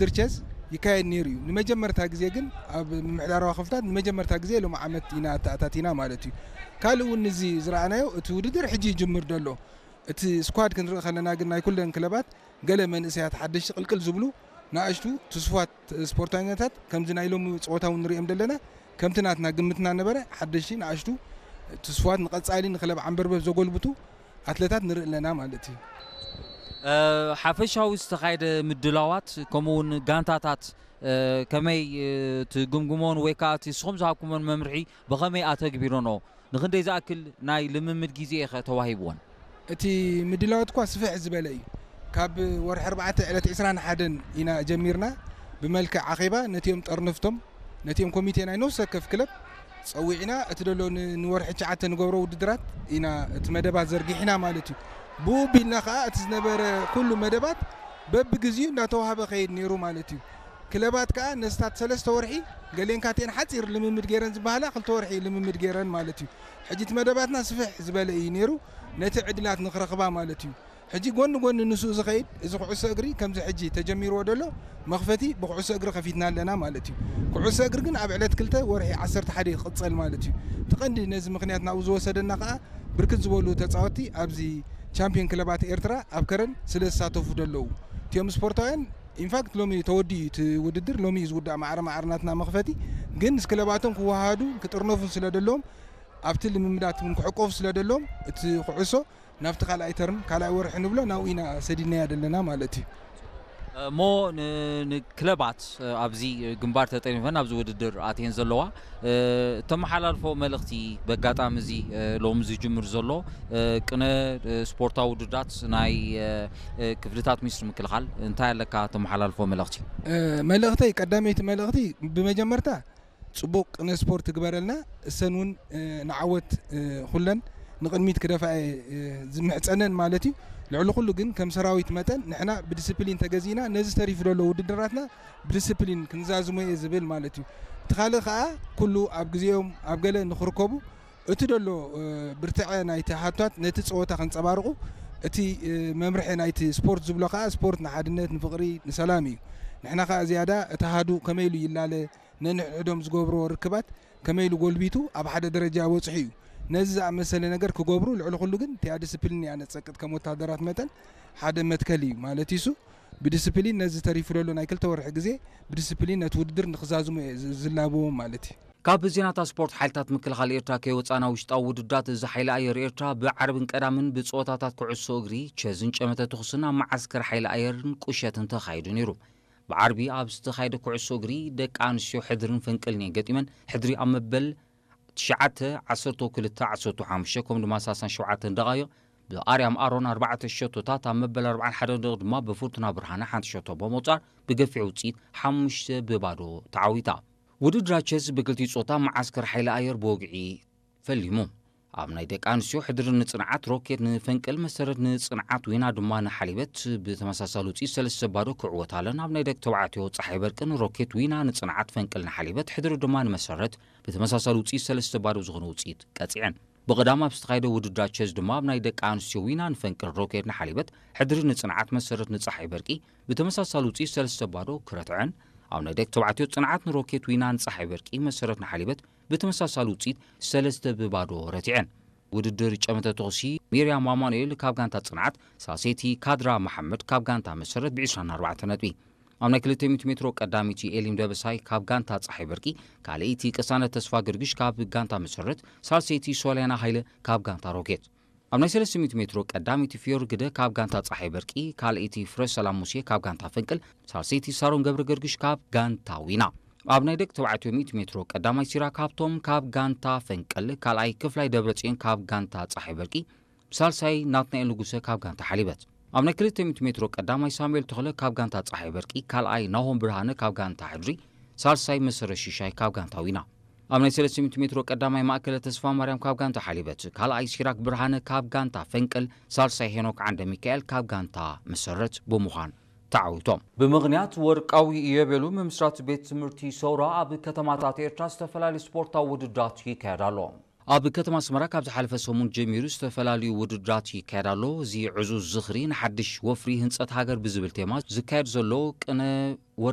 ውድድር ቸስ ይካየድ ነይሩ እዩ። ንመጀመርታ ግዜ ግን ኣብ ምምሕዳራዊ ክፍታት ንመጀመርታ ግዜ ሎም ዓመት ኢና ኣተኣታቲና ማለት እዩ። ካልእ እውን እዚ ዝረኣናዮ እቲ ውድድር ሕጂ ይጅምር ዘሎ እቲ ስኳድ ክንርኢ ከለና ግን ናይ ኩለን ክለባት ገለ መንእሰያት ሓደሽቲ ቅልቅል ዝብሉ ንኣሽቱ ትስፉዋት ስፖርታኛታት ከምዚ ናይ ሎሚ ፀወታ እውን ንሪኦም ዘለና ከምቲ ናትና ግምትና ነበረ ሓደሽቲ ንኣሽቱ ትስፉዋት ንቐፃሊ ንክለብ ዓንበርበብ ዘጎልብቱ ኣትለታት ንርኢ ኣለና ማለት እዩ። ሓፈሻዊ ዝተኻየደ ምድላዋት ከምኡ እውን ጋንታታት ከመይ ትግምግሞን ወይ ከዓ እቲ ንስኹም ዝሃብኩሞን መምርሒ ብኸመይ ኣተግቢሮኖ ንኽንደይ ዝኣክል ናይ ልምምድ ግዜ ኢኸ ተዋሂብወን? እቲ ምድላዋት እኳ ስፍሕ ዝበለ እዩ። ካብ ወርሒ ኣርባዕተ ዕለት ዕስራን ሓደን ኢና ጀሚርና ብመልክዕ ኣኼባ ነቲኦም ጠርነፍቶም ነቲኦም ኮሚቴ ናይ ነፍሲ ወከፍ ክለብ ፀዊዕና እቲ ደሎ ንወርሒ ትሽዓተ ንገብሮ ውድድራት ኢና እቲ መደባት ዘርጊሕና ማለት እዩ። ብኡ ቢልና ከዓ እቲ ዝነበረ ኩሉ መደባት በብግዚኡ እናተዋህበ ከይድ ነይሩ ማለት እዩ። ክለባት ከዓ ነስታት ሰለስተ ወርሒ ገሌን ካቴን ሓፂር ልምምድ ገይረን ዝበሃላ ክልተ ወርሒ ልምምድ ገይረን ማለት እዩ። ሕጂ እቲ መደባትና ስፍሕ ዝበለ እዩ ነይሩ። ነቲ ዕድላት ንክረኽባ ማለት እዩ። ሕጂ ጎኒ ጎኒ ንሱ ዝኸይድ እዚ ኩዕሶ እግሪ ከምዚ ሕጂ ተጀሚርዎ ደሎ መኽፈቲ ብኩዕሶ እግሪ ከፊትና ኣለና ማለት እዩ። ኩዕሶ እግሪ ግን ኣብ ዕለት ክልተ ወርሒ ዓሰርተ ሓደ ክቕጸል ማለት እዩ። እቲ ቀንዲ ነዚ ምኽንያት ናብኡ ዝወሰደና ከዓ ብርክት ዝበሉ ተፃወትቲ ኣብዚ ቻምፒዮን ክለባት ኤርትራ ኣብ ከረን ስለ ዝሳተፉ ደለዉ እቲኦም ስፖርታውያን ኢንፋክት ሎሚ ተወዲኡ እቲ ውድድር ሎሚ እዩ ዝውዳእ ማዕረ ማዕረ ናትና መኽፈቲ ግን ምስ ክለባቶም ክወሃዱ ክጥርነፉ ስለ ደለዎም ኣብቲ ልምምዳት እውን ክዕቀፉ ስለ ደለዎም እቲ ኩዕሶ ናብቲ ካልኣይ ተርም ካልኣይ ወርሒ ንብሎ ናብኡ ኢና ሰዲድናያ ዘለና ማለት እዩ። እሞ ንክለባት ኣብዚ ግንባር ተጠሪፈን ኣብዚ ውድድር ኣትየን ዘለዋ ተመሓላልፎ መልእኽቲ በጋጣሚ እዚ ሎሚ ዝጅምር ዘሎ ቅነ ስፖርታዊ ውድዳት ናይ ክፍልታት ሚኒስትሪ ምክልኻል እንታይ ኣለካ ተመሓላልፎ መልእኽቲ? መልእኽተይ ቀዳመይቲ መልእኽቲ ብመጀመርታ ፅቡቕ ቅነ ስፖርት ትግበረልና እሰን እውን ንዓወት ኩለን ንቕድሚት ክደፋ ዝምሕፀነን ማለት እዩ። ልዕሊ ኩሉ ግን ከም ሰራዊት መጠን ንሕና ብዲስፕሊን ተገዚእና ነዚ ተሪፉ ዘሎ ውድድራትና ብዲስፕሊን ክንዛዝሞ እየ ዝብል ማለት እዩ። እቲ ካልእ ከዓ ኩሉ ኣብ ግዜኦም ኣብ ገለ ንክርከቡ እቲ ደሎ ብርትዐ ናይቲ ሃቷት ነቲ ፀወታ ከንፀባርቑ እቲ መምርሒ ናይቲ ስፖርት ዝብሎ ከዓ ስፖርት ንሓድነት ንፍቕሪ ንሰላም እዩ። ንሕና ከዓ ዝያዳ እቲ ሃዱ ከመይ ኢሉ ይላለ ነንሕድሕዶም ዝገብርዎ ርክባት ከመይ ኢሉ ጎልቢቱ ኣብ ሓደ ደረጃ በፂሑ እዩ። ነዚ ዝኣመሰለ ነገር ክገብሩ ልዕሊ ኩሉ ግን እቲኣ ዲስፕሊን እያ ነፀቅጥ ከም ወታደራት መጠን ሓደ መትከል እዩ ማለት እዩ። ብዲስፕሊን ነዚ ተሪፉ ዘሎ ናይ ክልተ ወርሒ ግዜ ብዲስፕሊን ነቲ ውድድር ንክዛዝሙ እየ ዝላብዎም ማለት እዩ። ካብ ዜናታት ስፖርት ሓይልታት ምክልኻል ኤርትራ ከይወፃና ውሽጣዊ ውድዳት እዚ ሓይሊ ኣየር ኤርትራ ብዓርብን ቀዳምን ብፀወታታት ኩዕሶ እግሪ፣ ቸዝን ጨመተ ተኹስን ኣብ መዓስከር ሓይሊ ኣየርን ቁሸትን ተኻይዱ ነይሩ። ብዓርቢ ኣብ ዝተኻየደ ኩዕሶ እግሪ ደቂ ኣንስትዮ ሕድርን ፈንቅልን እየን ገጢመን። ሕድሪ ኣብ መበል ትሽዓተ፣ ዓሰርተ ክልተ፣ ዓሰርተ ሓሙሽተ ከምኡ ድማ ሰላሳን ሸውዓተን ደቓይቕ ብኣርያም ኣሮን ኣርባዕተ ሸቶታት ኣብ መበል ኣርባዓን ሓደን ደቒቕ ድማ ብፍርቱና ብርሃነ ሓንቲ ሸቶ ብምቑጻር ብገፊሕ ውፅኢት ሓሙሽተ ብባዶ ተዓዊታ። ውድድራት ቸስ ብክልቲኡ ጾታ መዓስከር ሓይሊ ኣየር ብወግዒ ፈሊሙ። ኣብ ናይ ደቂ ኣንስትዮ ሕድሪ ንጽንዓት ሮኬት ንፈንቅል መሰረት ንጽንዓት ዊና ድማ ንሓሊበት ብተመሳሳሊ ውፅኢት ሰለስተ ባዶ ክዕወታ ኣለና። ኣብ ናይ ደቂ ተባዕትዮ ፀሓይ በርቂ ንሮኬት ዊና ንጽንዓት ፈንቅል ንሓሊበት ሕድሪ ድማ ንመሰረት ብተመሳሳሊ ውፅኢት ሰለስተ ባዶ ዝኾነ ውፅኢት ቀፂዐን። ብቐዳም ኣብ ዝተኻየደ ውድድራት ቸዝ ድማ ኣብ ናይ ደቂ ኣንስትዮ ዊና ንፈንቅል ሮኬት ንሓሊበት ሕድሪ ንጽንዓት መሰረት ንፀሓይ በርቂ ብተመሳሳሊ ውፅኢት ሰለስተ ባዶ ክረትዐን ኣብ ናይ ደቂ ተባዕትዮ ጽንዓት ንሮኬት ዊና ንፀሓይ በርቂ መሰረት ንሓሊበት ብተመሳሳሊ ውፅኢት ሰለስተ ብባዶ ረቲዐን። ውድድር ጨመተ ተኹሲ ሚርያም ኣማኑኤል ካብ ጋንታ ጽንዓት፣ ሳልሰይቲ ካድራ መሓመድ ካብ ጋንታ መሰረት ብ ዕስራን ኣርባዕተን ነጥቢ። ኣብ ናይ ክልተ ሚእቲ ሜትሮ ቀዳመይቲ ኤሊም ደበሳይ ካብ ጋንታ ጸሓይ በርቂ፣ ካልኣይቲ ቅሳነት ተስፋ ገርግሽ ካብ ጋንታ መሰረት፣ ሳልሰይቲ ሶልያና ሃይለ ካብ ጋንታ ሮኬት። ኣብ ናይ ሰለስተ ሚእቲ ሜትሮ ቀዳመይቲ ፊዮሪ ግደ ካብ ጋንታ ጸሓይ በርቂ፣ ካልኣይቲ ፍረ ሰላም ሙሴ ካብ ጋንታ ፈንቅል፣ ሳልሰይቲ ሳሮን ገብረ ገርግሽ ካብ ጋንታ ዊና። ኣብ ናይ ደቂ ተባዕትዮ ሚእቲ ሜትሮ ቀዳማይ ሲራክ ሃብቶም ካብ ጋንታ ፈንቅል፣ ካልኣይ ክፍላይ ደብረጽዮን ካብ ጋንታ ጸሓይ በርቂ፣ ሳልሳይ ናትናኤል ንጉሰ ካብ ጋንታ ሓሊበት። ኣብ ናይ ክልተ ሚእቲ ሜትሮ ቀዳማይ ሳሙኤል ተኽለ ካብ ጋንታ ጸሓይ በርቂ፣ ካልኣይ ናሆም ብርሃነ ካብ ጋንታ ሕድሪ፣ ሳልሳይ መሰረት ሽሻይ ካብ ጋንታ ዊና። ኣብ ናይ ሰለስተ ሚእቲ ሜትሮ ቀዳማይ ማእከለ ተስፋ ማርያም ካብ ጋንታ ሓሊበት፣ ካልኣይ ሲራክ ብርሃነ ካብ ጋንታ ፈንቅል፣ ሳልሳይ ሄኖክ ዓንደ ሚካኤል ካብ ጋንታ መሰረት ብምዃን ተዓዊቶም። ብምኽንያት ወርቃዊ ኢዮቤሉ ምምስራት ቤት ትምህርቲ ሰውራ ኣብ ከተማታት ኤርትራ ዝተፈላለዩ ስፖርታዊ ውድድራት ይካየድ ኣሎ። ኣብ ከተማ ኣስመራ ካብ ዝሓለፈ ሰሙን ጀሚሩ ዝተፈላለዩ ውድድራት ይካየድ ኣሎ። እዚ ዕዙዝ ዝኽሪ ንሓድሽ ወፍሪ ህንጸት ሃገር ብዝብል ቴማ ዝካየድ ዘሎ ቅነ ወርቂ